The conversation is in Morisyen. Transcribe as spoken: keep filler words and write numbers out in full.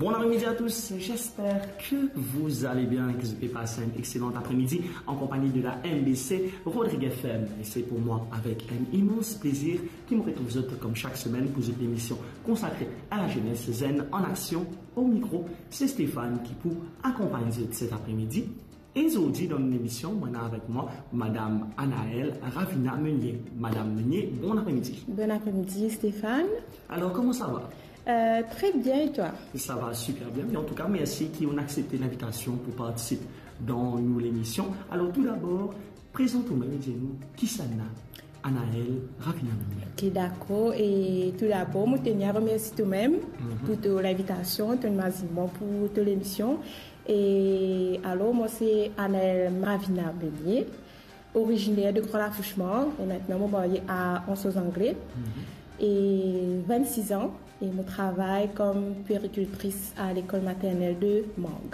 Bon après-midi à tous, j'espère que vous allez bien, que vous avez passé un excellent après-midi en compagnie de la M B C Rodrigues F M. Et c'est pour moi avec un immense plaisir ki mo retrouv zot comme chaque semaine pour cette émission consacrée à la jeunesse zen en action. Au micro, c'est Stéphane qui pour accompagner zot cet après-midi. E zordi dan nou lemision, mo ena avek mwa Madame Anaëlle Ravina Meunier. Madame Meunier, bon après-midi. Bon après-midi, Stéphane. Alors, comment ça va ? Euh, très bien, et toi ? Ça va super bien. Mais en tout cas, merci ki ou aksepte linvitasion pour participer dans nou lemision. Alors, tout d'abord, prezant ou mem e dir nou, kisannla Anaëlle Ravina Meunier ? Ok, dakor. E tou dabor, mo teni a remersi to mem pou to linvitasion, to mazin mwa pou to lemision. E alor, mwa se Anaëlle Ravina Meunier, originaire de Grand Lafouchemang, e mintnan mo marye a Anse aux Anglais. E vennsis an, e mo travay kom puéricultrice à l'école maternelle de Mang.